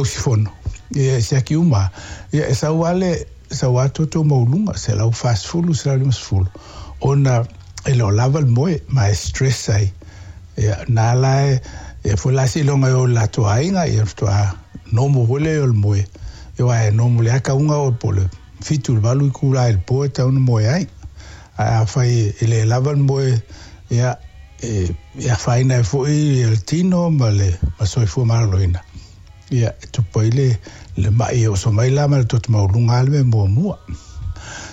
Usufono, ia, e siaki uma, ia, e sau lava le, sau lava toto maualuga, 140, 150, ona e le o lava le moe, ma e stress ai. Ia, na la e, ia foi la seiloga e o i le latou aiga, ia faatoa normal foi lea o le moe. Ia aua e normal lava tauga o po o le 7 i le 8 itula i le po e tatau ona moe ai. Ae afai e le lava le moe, ia, e, e afaina ai foi le tino ma le ma soifua maloloina. Ia, e tupu ai le, le ma'i e oso mai la ma le toto maualuga lava le mea muamua.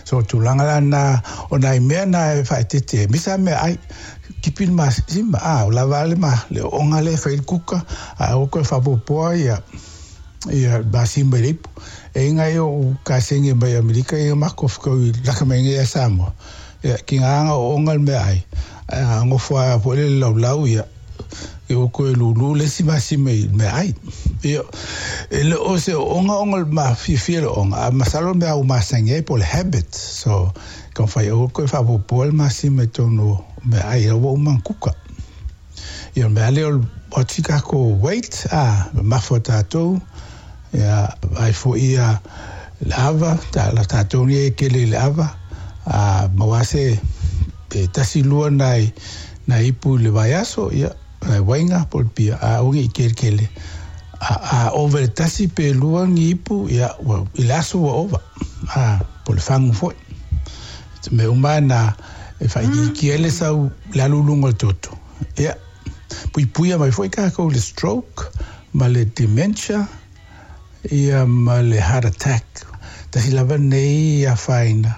So, o tulaga la na, o nai mea na e faaeteete ai, aemaise lava meaai, kipi le masima, a, o lava le, ma, le ooga lea e fai ai le kuka, ae aua toe faaopoopoa ia, ia masima i le ipu. E i ai o'u kasegi mai Amerika ia matou fetaui laka mai nei ia Samoa, ia tiga na ooga le meaai, ae a nofo lava foi lele i le laulau ia, ia ua toe lulu le isi masima i le meaai. Ia, e le o se ooga ona o le mafiafia o le ooga, ae masalo o le mea ua masani ai po o le habit. So, taumafai aua le toe faaopoopoa le masima i totonu o meaai, ua uma ona kuka. Ia o le mea lea o le watch i tatou weight, a, mamafa o tatou, ia, vaai foi ia le ava, ta, tatou nei e tele i le ava, a maua se pe tasi lua nai, nai ipu i le vaiaso, ia, nai uaina po o le pia, a aua ne i tele tele. A, a ova i le tasi pe lua ni ipu, ia, ua, i le aso ua ova, a, po o le fagu foi. Mea uma lava na e faaitiitia ai le sau le alu i luga o le toto. Ia, puipuia mai foi tatou i le stroke ma le dementia, ia ma le heart attack. Tasi lava lenei afaina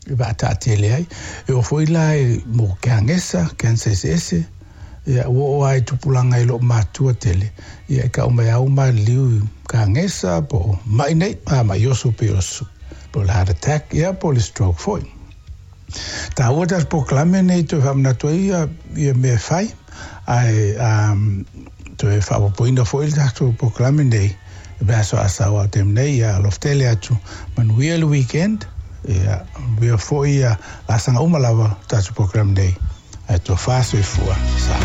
e vaataatele ai. E oo foi la i mo kanesa, cancer eseese, ia ua oo lava i tupulaga e le o matua tele, ia e tau mai lava ua maliliu i kanesa po o mai nei, a mai oso pei o po o le heart attack, ia po o le stroke foi. Taua tatou polokalame nei toe faamanatu ai ia, ia mea e fai, ae um, toe faaopoopoina foi le tatou polokalame nei i le aso Asau a o taimi nei, ia alofa tele atu, manuia le weekend, ia manuia foi ia laasaga uma lava o tatou polokalame nei. Ae tofa soifua sa.